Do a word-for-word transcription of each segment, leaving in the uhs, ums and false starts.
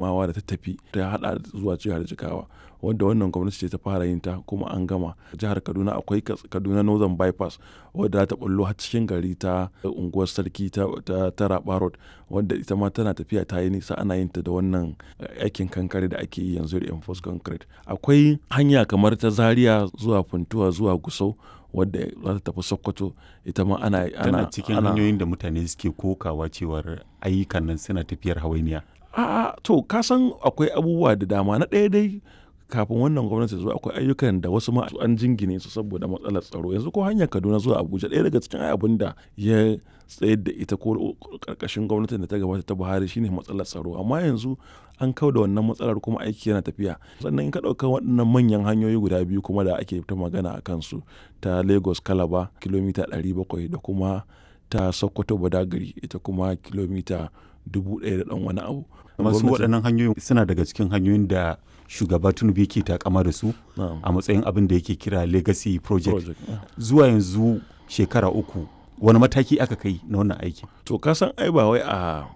Adamawa da ta tafi ta haɗa zuwa jihar Jigawa wanda wannan gwamnati ce ta fara yin ta kuma an gama. Jihar Kaduna akwai Kaduna Northern Bypass wadda za ta ɓullo har cikin gari ta unguwar Sarki ta, ta, ta Raba Road wadda ita ma tana tafiya ta yi nisa ana yin ta da wannan aikin kankare da ake yi yanzu reinforced concrete. Akwai hanya kamar ta Zaria zuwa Funtua zuwa Gusau wadda za ta tafi Sokoto ita ma ana, ana, Tana cikin ana hanyoyin da mutane suke kokawa cewar ayyukan nan suna tafiyar hawainiya. A'a to ka san akwai abubuwa da dama. Na ɗaya dai kafin wannan gwamnati ta zo akwai ayyukan da wasu ma an jingine su saboda matsalar tsaro. Yanzu ko hanyar Kaduna zuwa Abuja ɗaya daga cikin abun da ya tsayar da ita ko ƙarƙashin gwamnatin da ta gabata ta Buhari shine matsalar tsaro. Amma yanzu an kau da wannan matsalar kuma aiki yana tafiya. Sannan in ka ɗauka waɗannan manyan hanyoyi guda biyu kuma da ake ta magana a kansu ta Lagos Calabar kilomita ɗari bakwai da kuma ta Sokoto Badagry ita kuma kilomita dubu ɗaya da ɗan wani abu. Masu waɗannan hanyoyin suna daga cikin hanyoyin da shugaba Tinubu yake takama da su a matsayin abin da yake kira legacy project. Project, yeah. Zuwa yanzu shekara uku wani mataki aka kai na wannan aiki? To ka san ai ba wai a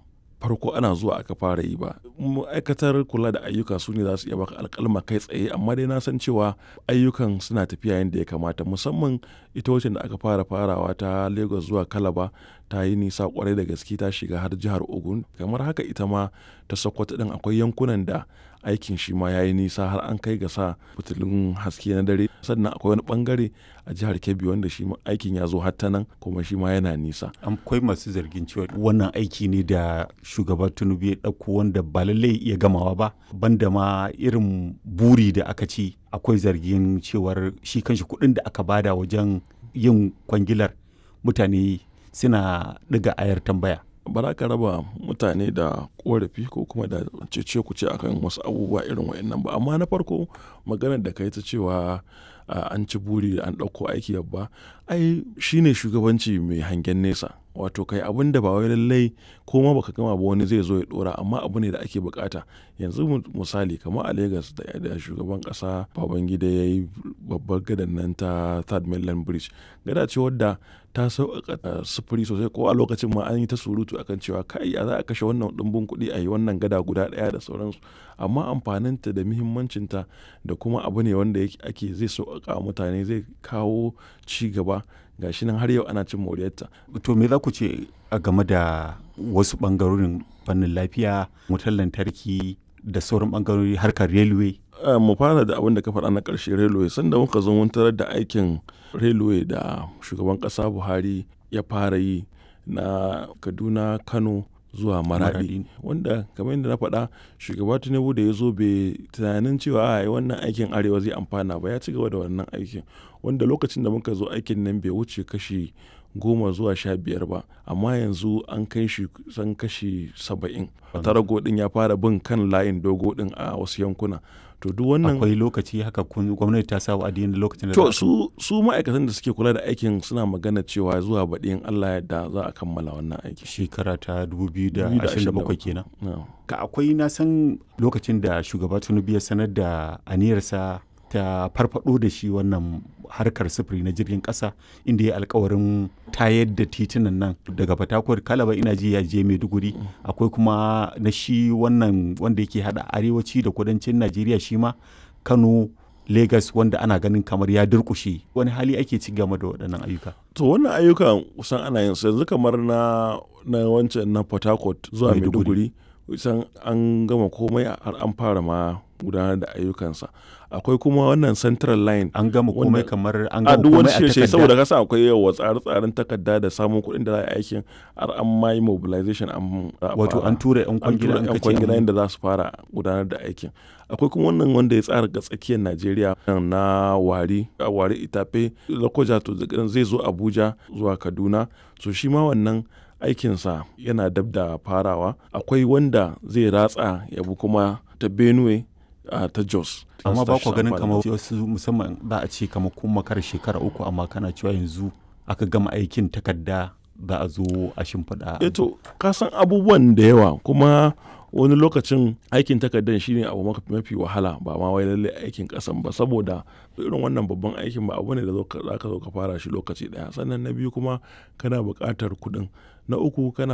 farko ana zuwa aka fara yi ba. Ma'aikatar kula da ayyuka su ne za su iya baka alƙalma kai tsaye amma dai na san cewa ayyukan suna tafiya yadda ya kamata musamman ita wacce da aka fara farawa ta Lagos zuwa Calabar ta yi nisa kwarai da gaske ta shiga har jihar Ogun. Kamar haka ita ma ta Sokoto ɗin akwai yankunan da aikin shi ma ya yi nisa har an kai ga sa fitilun haske na dare. Sannan akwai wani bangare a jihar Kebbi wanda shi ma aikin ya zo har ta nan kuma shi ma yana nisa. Akwai masu zargin cewa wannan aiki ne da shugaba Tinubu ya ɗauko wanda ba lallai iya gamawa ba banda ma irin buri da aka ci akwai zargin cewar shi kanshi kuɗin da aka bada wajen yin kwangilar mutane suna ɗiga ayar tambaya. Ba za ka raba mutane da ƙorafi ko kuma da cece-kuce akan wasu abubuwa irin waɗannan ba. Amma na farko maganar da ka yi ta cewa an ci buri an ɗauko aiki babba ai shine shugabanci mai hangen nesa. Wato kai abun da ba wai lallai ko ma baka gama ba wani zai zo ya ɗora amma abu ne da ake bukata. Yanzu misali kamar a Lagos da, da shugaban ƙasa Babangida ya yi babbar gadan nan ta Third Mainland Bridge. Gada ce wadda ta sauƙaƙa sufuri sosai ko a lokacin ma an yi ta surutu akan cewa kai ya za a kashe wannan ɗumbin kuɗi a yi wannan gada guda ɗaya da sauransu. Amma amfaninta da muhimmancinta da kuma abu ne wanda ake zai sauƙaƙa mutane zai kawo ci gaba. Ga shi nan har yau ana cin moriyarta. To me za ku ce a game da wasu ɓangarorin fannin lafiya, wutar lantarki da sauran ɓangarori harkar railway? Mu fara da abin da ka faɗa na ƙarshe railway. Sanda muka zo mun tarar da aikin railway da shugaban ƙasa Buhari ya fara yi na Kaduna, Kano zuwa Maradi. Wanda kamar yadda na faɗa shugaba Tinubu da ya zo bai tunanin cewa ai wannan aikin Arewa zai amfana ba ya ci gaba da wannan aikin. Wanda lokacin da muka zo aikin nan bai wuce kashi goma zuwa sha biyar ba amma yanzu an kai shi kusan kashi saba'in. Tarago ɗin ya fara bin kan layin dogo ɗin a wasu yankuna. To duk wannan Akwai lokaci haka kun gwamnati ta sa wa'adi na lokacin da To su, su ma'aikatan da suke kula da aikin suna magana cewa zuwa baɗi in Allah ya yarda za a kammala wannan aiki. Shekara ta dubu biyu da ashirin da bakwai kenan. Na'am. Ka akwai na san lokacin da shugaba Tinubu ya sanar da aniyarsa ta farfado da shi wannan harkar sufuri na jirgin ƙasa inda ya alkawarin tayar da titunan nan daga Fatakwal Calabar ina ji ya je Maiduguri akwai kuma na shi wannan wanda yake hada arewaci da kudancin Najeriya shi ma Kano Lagos wanda ana ganin kamar ya durƙushe wani hali ake ci game da waɗannan ayyuka. To wannan ayyukan kusan ana yin su yanzu kamar na, na wancan na Port Harcourt zuwa Maiduguri kusan an gama komai har an fara ma gudanar da ayyukansa. Akwai kuma wannan Central Line. An gama komai kamar an A gama duk wani komai a shirye takarda. saboda kasa akwai yawa tsare-tsaren takarda da samun kuɗin da za a yi aikin har an ma yi mobilization an za a Wato fara. an tura 'yan An kwangila tura an 'yan kace kwangila an yadda za su fara gudanar da aikin. Akwai kuma wannan wanda ya tsara ga tsakiyar Najeriya na Warri, Warri Itape, Lokoja to zai zo Abuja zuwa Kaduna. So shi ma wannan aikinsa yana dab da farawa. Akwai wanda zai ratsa ya bi kuma ta Benue a ta Jos. Amma ba ku ganin Amfani. kamar wasu musamman za a ce kamar kun makara shekara uku amma kana cewa yanzu aka gama aikin takarda za a zo a shimfiɗa. Eh to ka san abubuwan da yawa kuma wani lokacin aikin takardar shine abu mafi wahala ba ma wai lallai aikin ƙasan ba saboda irin wannan babban aikin ba abu ne da za ka zo ka fara shi lokaci ɗaya. Sannan na biyu kuma kana buƙatar kuɗin. Na uku kana